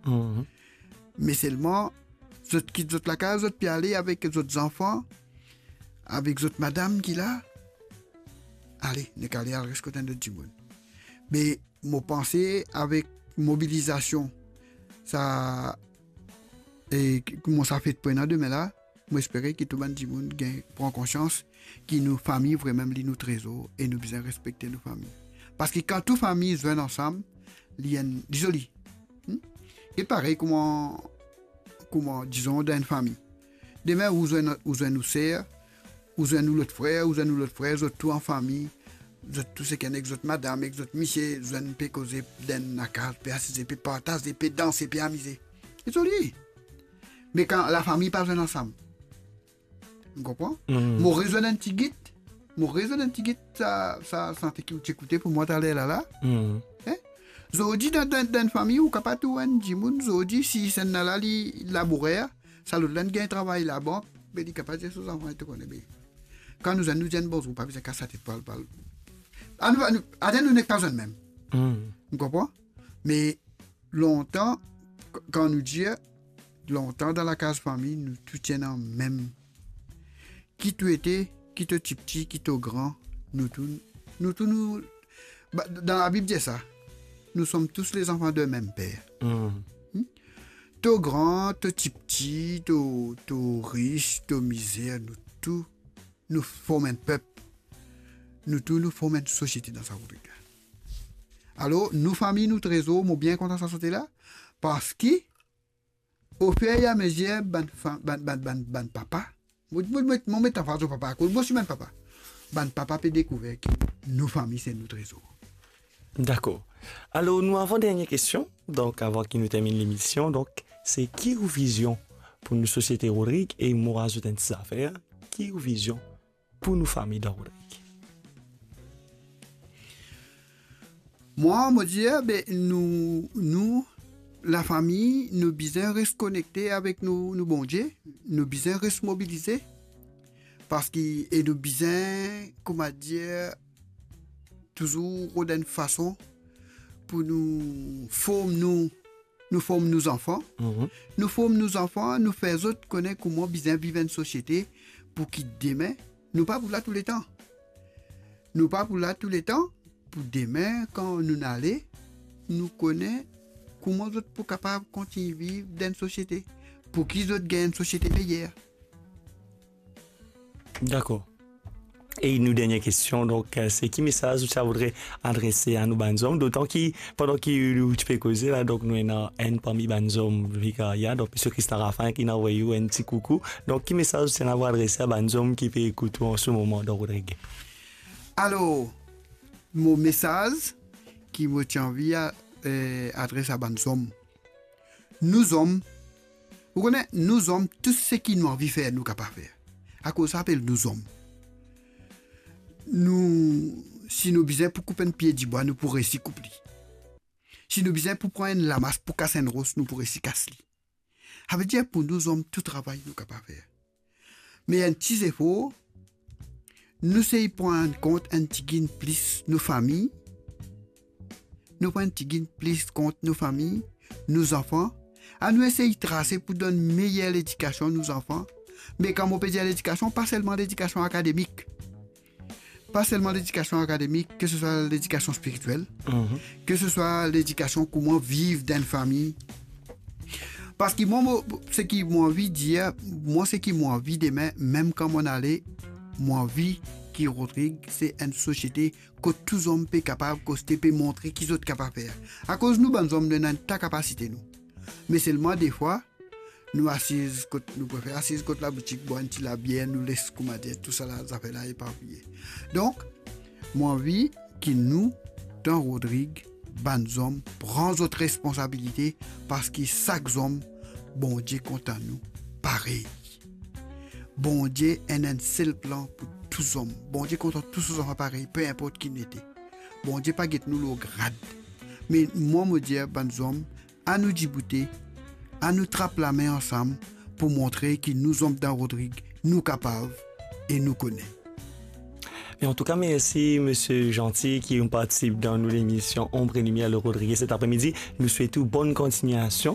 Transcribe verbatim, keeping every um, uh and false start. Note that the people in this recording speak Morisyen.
Mhm. Me selman, zot kit zot lakaz, zot pe ale avek zot zanfan, avek zot madam ki la. Ale, nek ale al res kot enn lot dimoun. Me mo panse avek mobilizasion, sa, e, ki, kouma sa fet pou ena demin la, mo espere ki tou bann dimoun gagn pran konsians ki nou fami vremem li nou trezor e nou bizin respekte nou fami. Parski kan tou fami zwenn ansam, li enn, li zoli. Hmm? Li parey kouma, kouma, dizon, dan enn fami. Demin, ou zwenn, ou zwenn ou ser, ou zwenn ou lot frer, ou zwenn ou lot frer, zot tou an fami, zot tou sekenn ek zot madam, ek zot misie, zwenn pe koze dan enn lakaz, pe asize, pe partaze, pe danse, pe amize. Li zoli. Me kan lafami pa zwenn ansam, ou konpran? Hmm. Mo rezwenn enn tigit, mo rezwenn enn tigit sa, sa sante ki ou ti ekoute pou mwa taler la la. Hmm. Hein? Zordi dan, dan, dan enn fami, ou kapav trouv enn dimoun, zordi, si sa enn la la, li labourer, sa lot la inn gagn travay labank, be li kapav dir so zanfan, to kone, be kan nou zwenn, nou dir enn bonzour, pa bizin kas latet pou al, pou al. Anou, anou, anou, nou nek pa zwenn mem. Hmm. Ou konpran? Me lontan, k-, kan nou dir, lontan dan lakaz fami, nou tou ti ena mem. Ki to ete, ki to tipti, ki to gran, nou tou, nou tou nou, ba, dan Labib dir sa, nous sommes tous les enfants d'un même père. Hmm. Hmm? To gran, to tipti, to, to ris, to mizer, nou tou, nou form enn pep. Nou tou, nou form enn sosiete dan sa Rodrig la. Alor, nou fami, nou trezor, mo bien kontan sa sante la, parski, ofereamezir, bann fa-, bann, bann, bann, bann papa, mo, mo, mo, mo met anfas papa, akoz mo osi bann papa. Bann papa pe dekouver ki nou fami se nou trezor. Dakor. Alor, nou avan dernie kestion, donk avan ki nou terminn lemision, donk, se ki ou vizion pou nou sosiete Rodrig, e mo azout enn ti zafer, ki ou vizion pou nou fami dan Rodrig? Mwa, mo dir, be, nou, nou, lafami, nou bizin res konekte avek nou, nou Bondie, nou bizin res mobilize, parski, e nou bizin, kouma dir, touzour rod enn fason pou nou form nou, nou form nou zanfan. Mhm. Nou form nou zanfan, nou fer zot kone kouma bizin viv enn sosiete pou ki demin, nou pa pou la touletan. Nou pa pou la touletan, pou demin, kan nou ale, nou kone kouma zot pou kapav kontign viv dan enn sosiete, pou ki zot gagn enn sosiete meyer. Dakor. E nou dernie kestion, donk, eh, se ki mesaz ou ti a voudre adrese a nou bann zom, dotan ki, pandan ki ou ti pe koze la, donk nou ena enn parmi bann zom Vikarya, donk Misie Christian Raffin ki inn avoy ou enn ti koukou. Donk, ki mesaz ou ti ena pou adrese a bann zom ki pe ekout ou an se moman dan Rodrig? Alor, mo mesaz ki mo ti anvi a, eh, adres a bann zom. Nou zom, ou kone, nou zom, tou seki nou anvi fer, nou kapav fer. Akoz sa apel nou zom. Nou, si nou bizin pou koup enn pie dibwa, nou pou resi koup li. Si nou bizin pou pran enn lamas pou kas enn ros, nou pou resi kas li. Savedir pou nou zom tou travay nou kapav fer. Me enn ti zefor, nou sey pran kont enn tigit plis nou fami, nou pran enn tigit plis kont nou fami, nou zanfan, anou esey trase pou donn meyer ledikasion nou zanfan. Me kan mo pe dir ledikasion, pa selman ledikasion akademik. Pa selman ledikasion akademik, ke se swa ledikasion spiritiel, mhm, ke se swa ledikasion kouma viv dan enn fami. Parski mwa, mo, seki mo anvi dir, mwa, seki mo anvi demin, mem kan mo ale, mo anvi ki Rodrig se enn sosiete kot tou zom pe kapav koste, pe montre ki zot kapav fer. Akoz nou bann zom, nou ena enn ta kapasite nou. Me selman defwa, nou asiz kot, nou prefer asiz kot laboutik, bwar enn ti labier, nou les, kouma dir, tou sa la, zafer la eparpiye. Donk, mo anvi ki nou, dan Rodrig, bann zom, pran zot responsabilite, parski sak zom, Bondie kontan nou parey. Bondie ena enn sel plan pou tou zom. Bondie kontan tou so zanfan parey, pe inport ki nou ete. Bondie pa get nou lor grad. Me mwa, mo dir bann zom, anou diboute, anou trap lame ansam pou montre ki nou zom dan Rodrig, nou kapav e nou kone. E antouka, mersi, Misie Jeanty, ki inn partisip dan nou lemision Ombre et Lumière le Rodrigué set apremidi. Nou swet ou bonn kontignasion.